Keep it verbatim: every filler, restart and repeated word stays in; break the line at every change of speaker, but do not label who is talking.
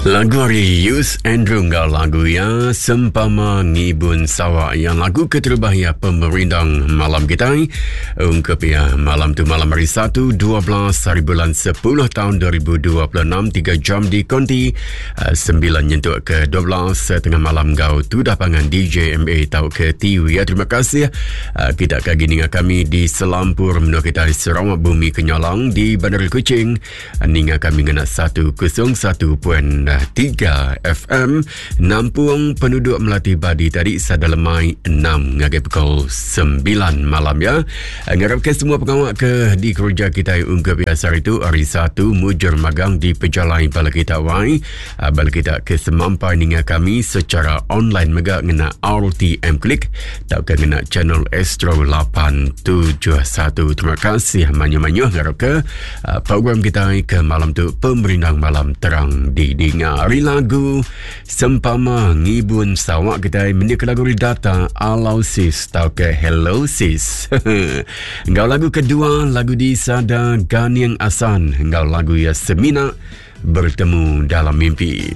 Lagu ari Yus Andrew enggau lagu ya Sempama Ngibun Sawa yang lagu keterubah ya pemerindang malam kita ungkup ya malam tu malam hari Satu dua belas hari bulan sepuluh tahun dua ribu dua puluh enam tiga jam di konti uh, sembilan nyentuk ke dua belas tengah malam gau tudah pangan D J M A tau ke T V ya. Terima kasih uh, kita kagi ninga kami di selampur menua kita di Sarawak Bumi Kenyalang di Bandar Kuching ninga kami ngena seratus satu titik tiga F M nampung penduduk Melati Badi tadi sadalemai enam ngagai pukul sembilan malam ya. Ngarapkan semua pengawak ke di kerja kita ungkup biasa itu hari Satu mujur magang di pejalai bala kita wai. Bala kita ke semampai ninga kami secara online mega ngena R T M Klik tauka ngena channel Astro lapan tujuh satu. Terima kasih manyu-manyu ngarap ke program kita ke malam tu pemerindang malam terang di dinga. Hari lagu Sempama Ngibun Sawak kita mendik lagu data Alau Sis tau ke Hello Sis. Ngau lagu kedua lagu di Sada Ganiang Asan ngau lagu ya Semina Bertemu Dalam Mimpi.